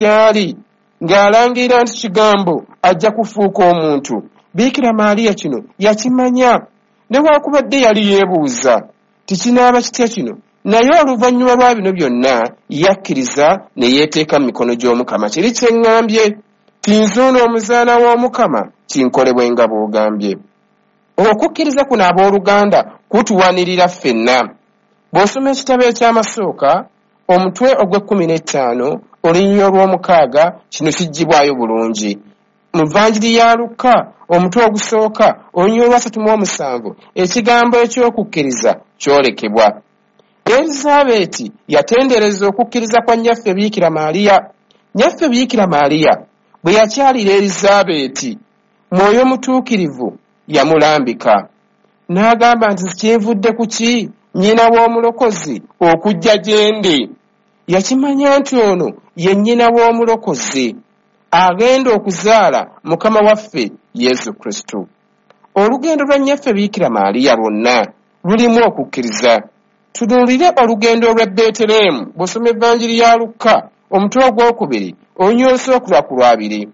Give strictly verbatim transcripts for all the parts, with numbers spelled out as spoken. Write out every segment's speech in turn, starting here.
Gyali ng'alangirira nti Kigambo ajja kufuuka omuntu. Biikira Maaliya kino yakimanya, newaakubadde yali yeebuuza tikinaaba kitya kino, naye oluvannyuma lwa bino byonna yakkiriza ne yeeteeka mu mikono gy'Omukama. Kiri kye ŋŋambye, tinzuuno omuzaana w'Omukama, kinkolebwe nga bw'ogambye. Okukkiriza kuno, abooluganda, kutuwanirira ffenna. Bw'osoma ekitabo ekyamasooka, omutwe ogw'ekkumi n'ettaano, olunyiriri olw'omukaaga, kino kiggyibwayo bulungi. Mu Vanjiri ya Lukka, omutwe ogusooka, olunyiriri olwasatu mu omusanvu, ekigambo eky'okukkiriza kyolekebwa. Erizabeeti yatendereza okukkiriza kwa nnyaffe Biikira Maaliya. Nnyaffe Biikira Maaliya bwe yakyalira Erizabeeti, Mwoyo Mutuukirivu yamulambika n'agamba nti, "Kinvudde ku ki nnyina w'Omulokozi okujja gye ndi?" Yakimanya nti ono ye nnyina w'Omulokozi agenda okuzaala Mukama waffe Yesu Kristo. Olugendo lwa nnyaffe Biikira Maaliya lwonna lulimu okukkiriza. Tunuulire olugendo olw'e Beetereemu. Bw'osoma Evanjiri ya Lukka, omutwe ogwokubiri, olunyiriri olusookerwa ku lwabiri,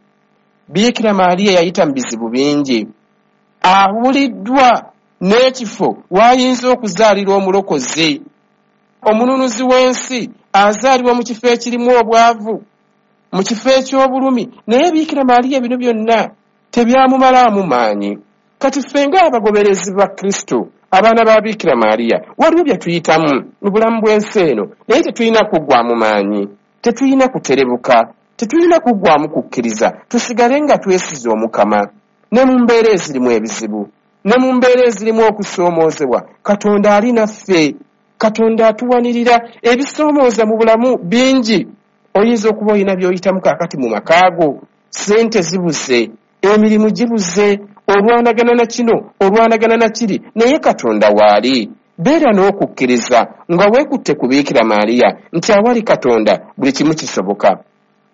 Biikira Maaliya yayita mu bizibu bingi. Abuliddwa n'ekifo w'ayinza okuzaalira Omulokozi. Omununuzi w'ensi azaalibwa mu kifo ekirimu obwavu, mu kifo eky'obulumi, naye Biikira Maaliya bino byonna tebyamumalaamu maanyi. Kati ffe ng'abagoberezi ba Kristo, abaana ba Biikira Maaliya, waliwo bye tuyitamu mu bulamu bw'ensi eno, naye tetulina kuggwamu maanyi, tetulina kuterebuka, tetulina kuggwamu kukkiriza. Tusigale nga twesize Omukama ne mu mbeera ezirimu ebizibu, ne mu mbeera ezirimu okusoomoozebwa. Katonda ali naffe, Katonda atuwanirira. Ebisoomooza mu bulamu bingi. Oyinza okuba olina by'oyitamu kaakati mu makaago, ssente zibuze, emirimu gibuze, olwanagana na kino, olwanagana na kiri, naye Katonda waali. Beera n'okukkiriza nga weekutte ku Biikira Maaliya nti awali Katonda buli kimu kisoboka.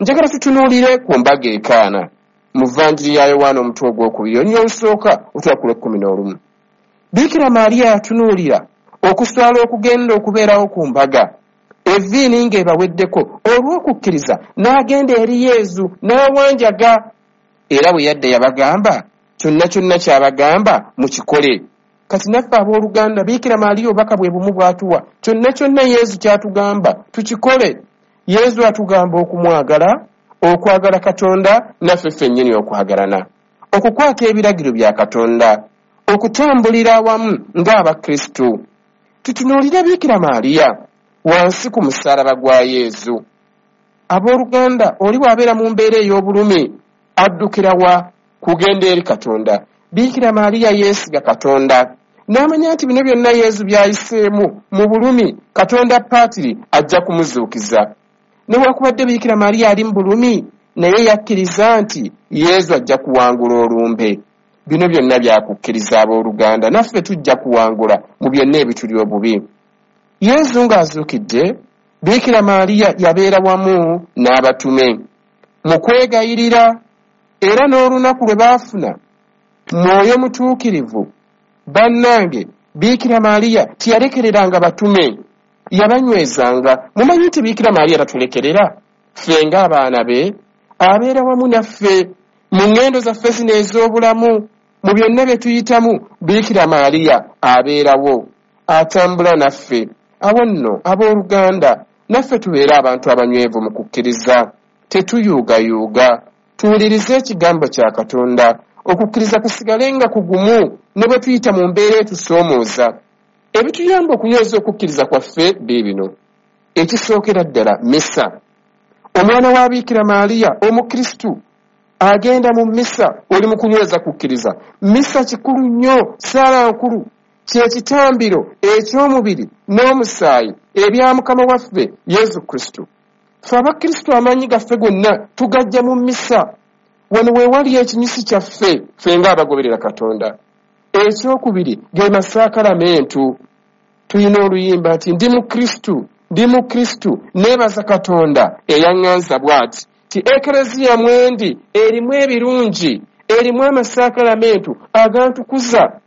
Njagala tutunuulire ku mbaga ekaana mu Vanjiri ya Yowaana, omutwe ogwokubiri, olunyiriri olusooka otula ku lw'ekkumi n'olumu. Biikira Maaliya yatunuulira okuswala okugenda okubeerawo ku mbaga, evviini ng'ebaweddeko. Olw'okukkiriza n'agenda eri Yezu n'awanjaga, era bwe yadda yabagamba, kyonna kyonna ky'abagamba mukikole. Kati naffe abooluganda, Biikira Maaliya obubaka bwe bumu bw'atuwa: kyonna kyonna Yezu ky'atugamba tukikole. Yezu atugamba okumwagala, okwagala Katonda, naffe ffennyini okwagalana, okukwata ebiragiro bya Katonda, okutambulira awamu ng'Abakristu. Tutunuulire Biikira Maaliya wansi ku musaalaba gwa Yezu. Abooluganda, oli bw'abeera mu mbeera ey'obulumi addukira wa? Kugenda eri Katonda. Biikira Maaliya yeesiga Katonda n'amanya nti bino byonna Yezu by'ayiseemu mu bulumi, Katonda Paatiri ajja kumuzuukiza. Newaakubadde Biikira Maaliya ali mu bulumi, naye yakkiriza nti Yezu ajja kuwangula olumbe. Bino byonna byakukkiriza, abooluganda. Naffe tujja kuwangula mu byonna ebituli obubi. Yezu ng'azuukidde, Biikira Maaliya yabeera wamu n'abatume mu kwegayirira, era n'olunaku lwe baafuna Mwoyo Mutuukirivu, bannange, Biikira Maaliya teyalekereranga batume, yabanywezanga. Mumanyi nti Biikira Maaliya tatulekerera ffe ng'abaana be, abeera wamu naffe mu ŋŋendo zaffe zino ez'obulamu. Mu byonna bye tuyitamu, Biikira Maaliya abeerawo, atambula naffe. Awo nno, abooluganda, naffe tubeere abantu abanywevu mu kukkiriza, tetuyuugayuuga, tuwulirize ekigambo kya Katonda, okukkiriza kusigale nga kugumu ne bwe tuyita mu mbeera etusoomooza. Ebituyamba okunyweza okukkiriza kwaffe biibino. Ekisookera ddala, misa. Omwana wa Biikira Maaliya Omukristu agenda mu misa, oli mu kunyweza kukkiriza. Misa kikulu nnyo, saala nkulu, kyekitambiro eky'omubiri n'omusaayi ebya Mukama waffe Yesu Kristo. Ffe Abakristu amaanyi gaffe gonna tugajja mu misa. Wano we wali ekinyusi kyaffe ffe ng'abagoberera Katonda. Ekyokubiri ge masaakalamentu. Tulina oluyimba nti, "Ndi mu Kristu, ndi mu Kristu, neebaza Katonda eyaŋŋanza bw'ati." Ti Ekereziya mwendi erimu ebirungi, erimu amasaakalamentu agantukuza.